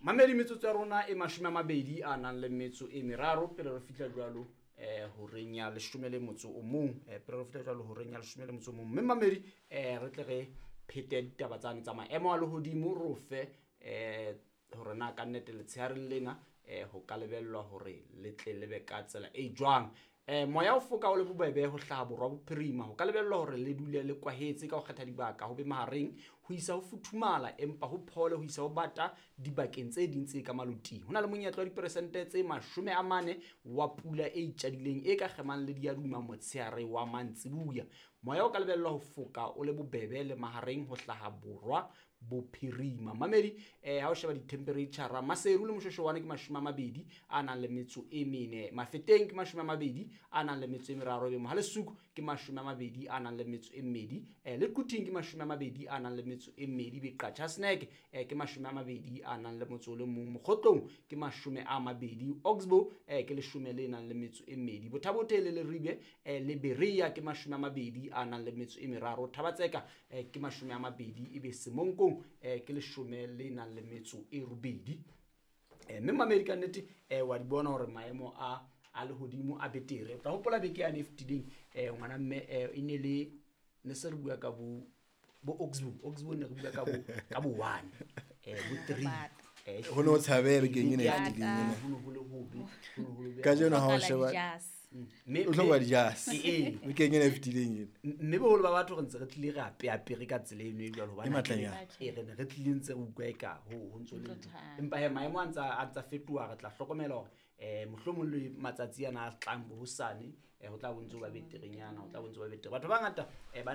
Mamedi, metsotso ya rona e 20 a nang le metso e meraro pele re fihla jwalo horeng ya 11, pele re fihla jwalo horeng ya 11. Mme mamedi, re tle re phete ditaba tsane tsa maemo a lehodimo, ro fe hore na ka nnete letshehareng lena ho ka lebellwa hore le tle le be ka tsela e jwang. Moya o foka o le bobebe ho hlaha borwa bophirima, ho ka lebellwa hore le dule le kwahetse ka ho kgetha dibaka, ho be mahareng ho isa ho futhumala, empa ho phole ho isa ho bata dibakeng tse ding tse ka maloting. Ho na le monyetla wa diperesente tse 40 wa pula e itjadileng e ka kgemang le diaduma motshehare wa mantsibuya. Moya o ka lebellwa ho foka o le bobebe le mahareng ho hlaha borwa bophirima. Mamedi, ha o sheba di-temperature, Maseru le Moshweshwane ke 24, Mafeteng ke 23, ebe Mohalesuku ke 22, le Quthing ke 22, be Qacha's Nek ke 21, Mokgotlong ke 20, Oxbow ke 12, Botha-Bothe le Leribe le Berea ke 23, Thaba-Tseka ke 20, ebe Semonkong ke 18. Mme mamedi, ka nnete wa di bona hore maemo a lehodimo a betere. O tla hopola beke yane e fetileng, ngwana mme, e ne le ne se re bua ka bo Oxbow. Oxbow ne re bua ka bo 1, bo 3. Ho no tshabeha bekeng ena e Beke fetileng ena. Ho no ho le hobe, ho no ho le hobe. Kajeno ha o Hlokahala sheba dijase. O hloka dijase. Ee. Bekeng ena e fetileng ena. Mme boholo ba batho re ntse re tlile re apeapere ka tsela eno e jwalo, hobane E matlanyana. ee, re ne re tlile ntse re utlwa eka ho ntso le Ntso ntho. thata. Empa he maemo a ntsa fetoha, re tla hlokomela hore mohlomong le matsatsi ana a tlang bo hosane, ho tla bo ntso ba beterenyana, ho tla bo ntso ba betere. Batho ba bangata ba